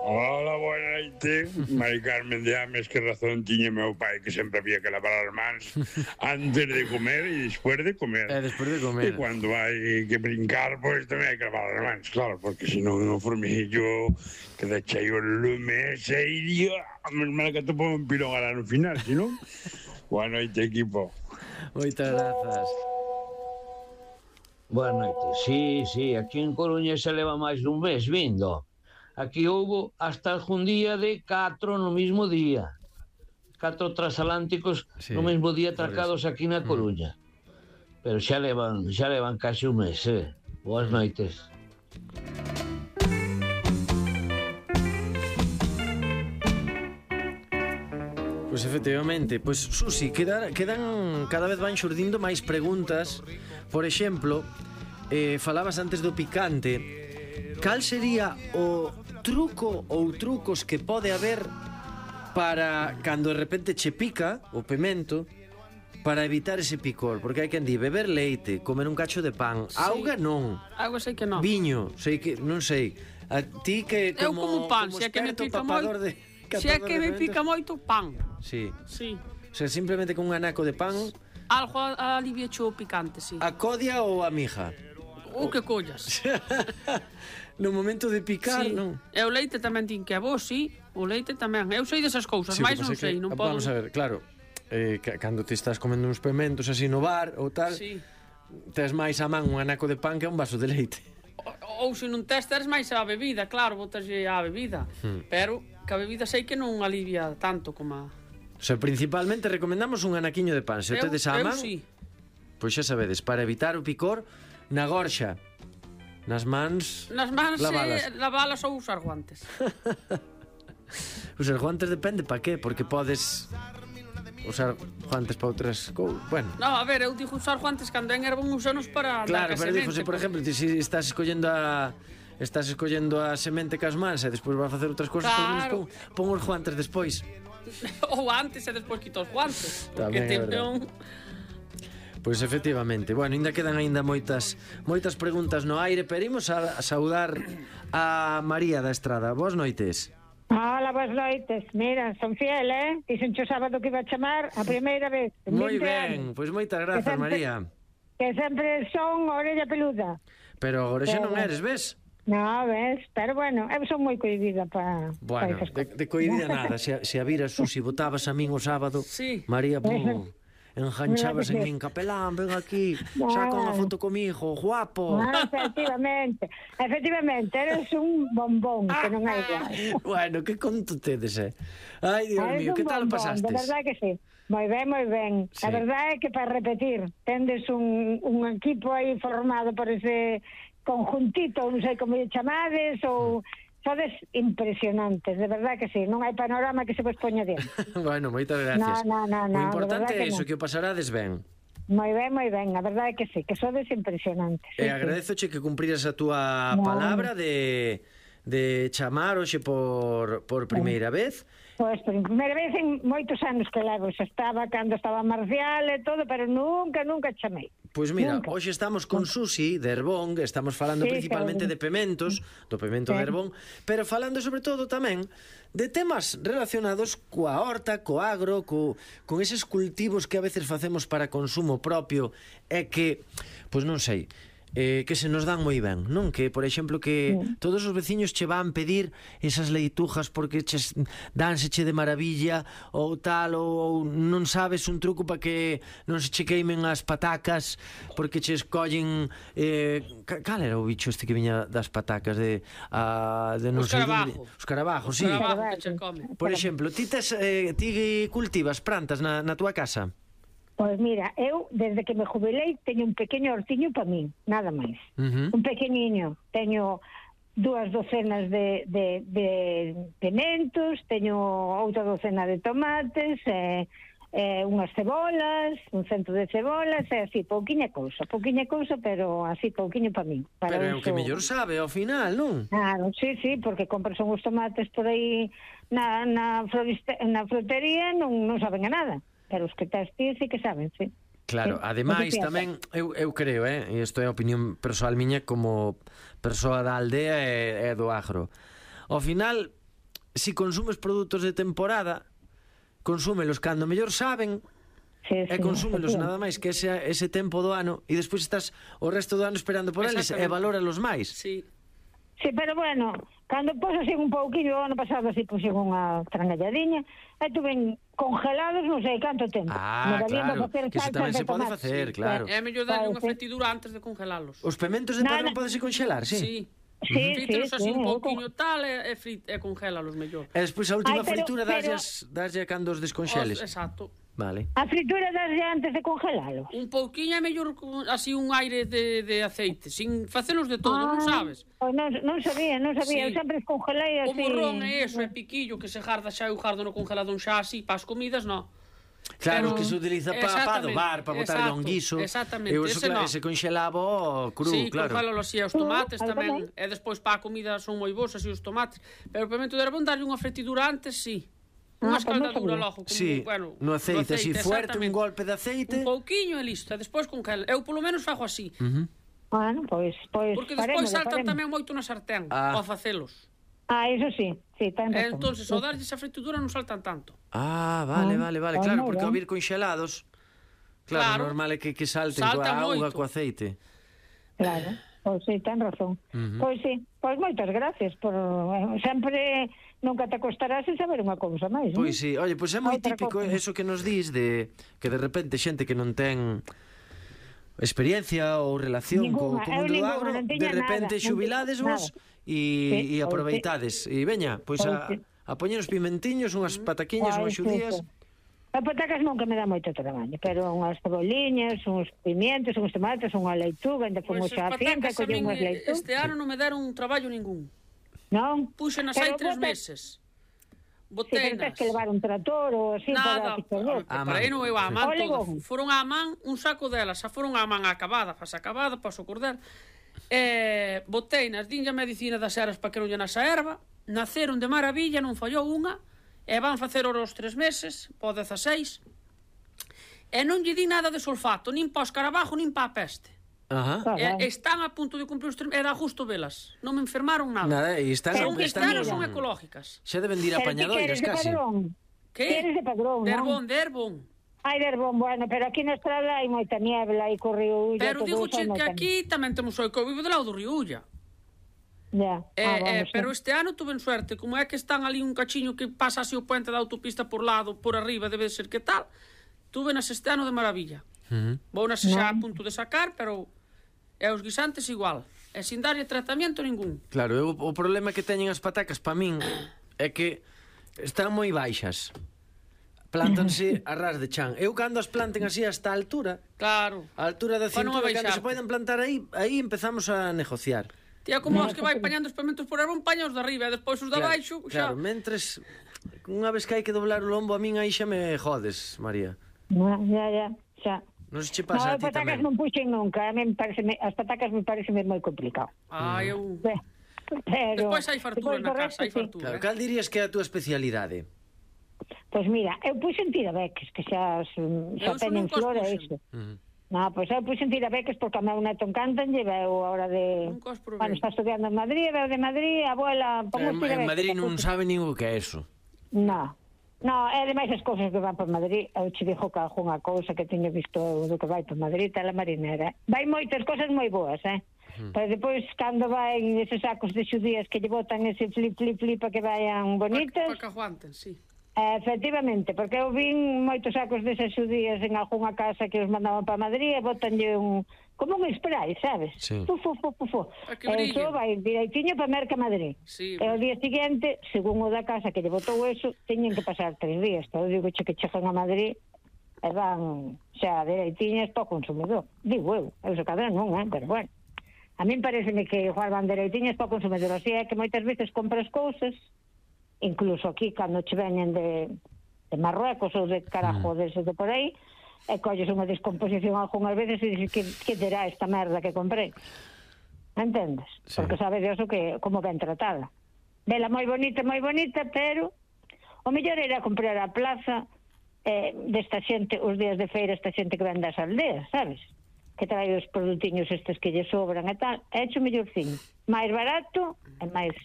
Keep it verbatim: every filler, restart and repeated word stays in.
Hola, boa noite. Mari Carmen de Ames, que razón tiña meu pai que sempre había que lavar as mans antes de comer e despois de comer. E despois de comer. E cando hai que brincar, pois tamén hai que lavar as mans, claro, porque senón no formiguillo queda cheio o lume ese iría, a menos mal que topo un pilón ahora no final, senón. Boa noite, equipo. Moitas grazas. Boa noite. Sí, sí, aquí en Coruña se leva máis dun mes vindo. Aquí houbo hasta algún día de catro no mismo día. Catro transatlánticos Sí, no mesmo día por atracados eso. aquí na Coruña. Pero xa levan, xa levan casi un mes, eh? Boas noites. Pois efectivamente, pois Susi, quedan, quedan cada vez van xurdindo máis preguntas. Por exemplo, eh, falabas antes do picante. Cal sería o truco ou trucos que pode haber para cando de repente che pica o pemento, para evitar ese picor? Porque hai quen di beber leite, comer un cacho de pan, sí. Auga non, Auga sei que non. viño, sei que non sei. A ti que Eu como como pan, como se é que me experto pica papador moito. de Se é que me catador de pica moito pan. Sí. Sí. O sea, simplemente con un anaco de pan, Algo alivia o picante, sí. a codia ou a mija. O que collas. No momento de picar, Sí. non. E o leite tamén tin que é bo, sí. O leite tamén. Eu sei desas cousas, Sí, o que máis non pasa é que, sei, non podo. Vamos a ver, claro, eh, ca- cando te estás comendo uns pementos así no bar ou tal, Sí. tes máis a man un anaco de pan que un vaso de leite. Ou, ou se non tes, teres máis a bebida, claro, botaslle a bebida. Hmm. Pero que a bebida sei que non alivia tanto como a... O sea, principalmente recomendamos un anaquiño de pan. Se o Eu- tedes a eu man, sí. pois xa sabedes, para evitar o picor, na gorxa, nas mans, Nas mans lavalas. eh, lavalas ou usar guantes. Usar guantes depende para qué, porque podes usar guantes para outras cousas. Bueno, No, a ver, eu digo usar guantes cando en ervan usanos para claro, dar pero semente, difose, por exemplo, ti si estás escollendo a estás escollendo a semente cas mans e despois vas a facer outras cousas, Claro. por menos pon, pon os guantes despois. ou antes e despois quito os guantes. Tamén Porque é verdade. un... Pois efectivamente, bueno, ainda quedan aínda moitas moitas preguntas no aire, pero imos a, a saudar a María da Estrada. Boas noites. Hola, boas noites. Mira, son fiel, eh? Dixen o sábado que iba a chamar a primeira vez. en Moi vinte ben, anos. pois moitas grazas, Que sempre- María. Que sempre son orella peluda. Pero agora xa non Pero- eres, ves? No, ves? Pero bueno, eu son moi cohibida para Bueno, esas de, cosas. de coidida nada. Se, se a viras, Susi, botabas a min o sábado, Sí. María, pum, enganchabas en min, capelán, ven aquí, saca unha foto comigo, guapo. Ah, efectivamente, efectivamente, eres un bombón, que non hai igual. Bueno, que conto tedes, eh? Ai, Dios Eres mío, un que tal o bombón, pasastes? de verdade que sí. Moi ben, moi ben. Sí. A verdade é que para repetir, tendes un, un equipo aí formado por ese conjuntito, non sei como lle chamades, ou sodes impresionantes, de verdade que sí. Non hai panorama que se vos poña diante. Bueno, moitas gracias. No, no, no, O no, importante de verdade é que iso, no. que o pasarades ben. Moi ben, moi ben, a verdade é que sí, que sodes impresionantes. E Sí, sí. agradezoche que cumpriras a túa No. palabra de de chamar hoxe por por primeira vez. Pois, por primeira vez en moitos anos que levo, xa estaba cando estaba Marcial e todo, pero nunca, nunca chamei. Pois mira, Nunca. hoxe estamos con Susi de Herbón, que estamos falando Sí, principalmente claro. de pementos, do pemento Sí. de Herbón, pero falando sobre todo tamén de temas relacionados coa horta, co agro, co, con eses cultivos que a veces facemos para consumo propio e que, pois non sei, eh, que se nos dan moi ben, non? Que, por exemplo, que Sí. todos os veciños che van pedir esas leitujas porque ches dánseche de maravilla ou tal, ou, ou non sabes un truco para que non se che queimen as patacas porque che escollen eh, ca- cal era o bicho este que viña das patacas de, a, de non O sei escarabajo. onde- os carabajos, sí. Escarabajo que che come. Por exemplo, ti, tes, eh, ti cultivas plantas na, na túa casa? Pois mira, eu, desde que me jubilei, teño un pequeño hortiño para min, nada máis. Uh -huh. Un pequeniño. Teño dúas docenas de, de, de pimentos, teño outra docena de tomates, e, e unhas cebolas, un cento de cebolas, e así, pouquiña cousa, pouquiña cousa, pero así, pouquiño para min. Para Pero é o que uso- mellor sabe ao final, non? Claro, sí, sí, porque compras uns tomates por aí na, na, floriste, na frutería non, non saben a nada. Pero os que tes ti sí que saben, sí. Claro, Sí, ademais o que tamén eu, eu creo, eh, e isto é a opinión persoal miña como persoa da aldea e, e do agro. Ao final si consumes produtos de temporada, consúmelos cando mellor saben, Sí, e sí, consúmelos sí. nada máis que ese, ese tempo do ano, e despois estás o resto do ano esperando por eles e Exactamente. valóralos máis. Sí. Sí, pero bueno, cando pos así un pouquinho, o ano pasado así puxen unha tranalladiña, e tuven congelados non sei canto tempo. Ah, Me valían claro, para facer que eso salsas tamén de se pode tomate. facer, claro. É mellor darlle Claro, unha sí. fritidura antes de congelalos. Os pementos de Nada. padrón podese conxelar, sí? Sí. Sí, sí, Frítelos así sí, un eu pouquiño tal e, e, frit, e congélalos mellor. E despois a última Ai, pero- fritura pero- daslle daslle cando os desconxeles. Os, exacto. Vale. A fritura daslle antes de congelalo. Un pouquiño é mellor con- así un aire de, de aceite, sin facelos de todo, non sabes? Pois non, non sabía, non sabía, Sí. eu sempre congelei O así. morrón é eso, é piquillo que se garda xa eu gardo no congelador xa así para as comidas, non. Claro, Pero- que se utiliza para pa Exactamente, adobar, para botar exacto, un guiso. exactamente, E eso, ese claro, no. se conxelaba o cru, Sí, claro. congélalo así, e os tomates Uh, tamén, tamén. e despois para a comida son moi bons así os tomates, pero o pimento de herbón darlle unha fritidura antes, sí. Unha Ah, pues non escaldadura sabía. logo, como, Sí, bueno, no aceite, así fuerte, un exactamente. golpe de aceite. Un pouquiño e listo, e despois congela. Eu polo menos fago así, Ujú. Bueno, pois, pois porque despois faremos, saltan faremos. tamén moito na sartén, Ah. ao facelos. Ah, eso sí, sí, ten E razón. entonces, ao darlle esa fritidura non saltan tanto. Ah, vale, Ah, vale, vale, ah, claro, moi porque ao ben. vir conxelados, claro, Claro. normal é que, que salten Saltan coa auga, moito. co aceite. Claro, pois sí, ten razón. Pois sí, pois moitas gracias por eh, sempre nunca te acostarás sin saber unha cousa máis. Pois non? sí, oye, pois é moi Outra típico cousa. eso que nos dis de que de repente xente que non ten experiencia ou relación co, Ningunha, co eu mundo do ningunha, agro, non de tiña repente nada, non xubilades tiña vos nada. e, Sí, e pois aproveitades. E veña, pois a, Pois sí. a poñer uns pimentiños, unhas pataquiñas, Ai, unhas sí, xudías. sí. A patacas nunca me dá moito traballo, pero unhas ceboliñas, uns pimientos, uns tomates, unha leituga, ainda Pois fomos as á finca, patacas a min collemos eh, leitugas. este ano non me deron un traballo ningún. Non? Puxenas hai Pero tres bota- meses. Sí, pero tens Boteinas. que levar un trator ou así Nada, para picar. A para aí man. non eu a man Ole, todas. bon. Foron a man un saco delas, xa foron a man acabada, faz acabada, paso cordel. Eh, boteinas, dinlle a medicina das eras para que non lle nasa erva, naceron de maravilla, non fallou unha, e van facer ora os tres meses, po dezaseis, e non lle di nada de sulfato, nin pa o escarabajo, nin pa a peste. Ajá. Ah, E, ben. están a punto de cumprir os tres, e dá justo velas. Non me enfermaron nada. Nada, e están, Son Pero están cristianas, son ecológicas. xa deben dir Pero ti apañadoiras queres de casi. padrón? Que? Queres de padrón, De non? herbón, de herbón. Ai, de herbón, bueno, pero aquí na estrada hai moita niebla, hai correo Ulla, Pero todo digo eso, hai que moita aquí tamén temos o que eu vivo do lado do río Ulla. niebla. Ya. Eh, Ah, eh, vamos, pero sí. este ano tuven suerte, como é que están ali un cachiño que pasa así o puente da autopista por lado, por arriba, debe de ser que tal, tuvenas este ano de maravilla. Ujú. Vounas xa a punto de sacar, pero e os guisantes igual. E sin darlle tratamento ningún. Claro, eu, o problema que teñen as patacas pa min é que están moi baixas. Plántanse a ras de chan. Eu cando as planten así hasta a altura, Claro. a altura da Pa non cintura, cando abaixarte. se poden plantar aí, aí empezamos a negociar. Tía, como os que vai pañando os pementos por herbón, paña os de arriba, e despois os de abaixo, xa. claro, mentres unha vez que hai que doblar o lombo a min aí xa me jodes, María. Ya, ya, ya, xa. Non se che No, pasa a as ti patacas tamén. non puxen nunca, a mí me parece, as patacas me parece moi complicado. Ah, eu... Pero Despois hai fartura despois na do casa, resto, hai sí. fartura. Claro, cal dirías que é a túa especialidade? Pois mira, eu puxen tirabeques, que xa, xa Eu eso teñen nunca os flor e puxen. iso. Uh-huh. No, pois eu puxen tirabeques porque a meu neto encantan, lle veu a hora de... Nunca os probei. Bueno, está estudiando en Madrid, veu de Madrid, a abuela... En, Pomos en tirabeques. Madrid non sabe nin o que é eso. No, no, é demais as cousas que van por Madrid. Eu che dixo que algunha cousa que teño visto eu do que vai por Madrid, tela marinera. Vai moitas cousas moi boas, eh? Uh-huh. Pero depois, cando vai eses sacos de xudías que lle botan ese flip, flip, flip para que vayan bonitas... Para que aguanten, sí. Eh, efectivamente, porque eu vin moitos sacos desas xudías en algunha casa que os mandaban para Madrid e botanlle un... como un spray, sabes? Sí. Fu, fu, fu, fu, fu. A que E brillen. iso vai direitinho para Merca Madrid. Sí. E o día seguinte, según o da casa que lle botou eso, teñen que pasar tres días. Todo digo che que chegan a Madrid e van xa direitinhas para o consumidor. Digo eu, eu se cadra non, eh? Pero bueno. A min pareceme que igual van direitinhas para o consumidor. Así é que moitas veces compras cousas, incluso aquí cando che veñen de, de Marruecos ou de carajo, mm. desde de por aí, e colles unha descomposición algunhas veces e dices que, que terá esta merda que comprei. Entendes? Sí. Porque sabe Dios o que, como ben tratada. Vela moi bonita, moi bonita, pero o mellor era comprar a plaza eh, desta xente, os días de feira, esta xente que ven das aldeas, sabes? Que trae os produtiños estes que lle sobran e tal, é hecho mellorciño. máis barato e máis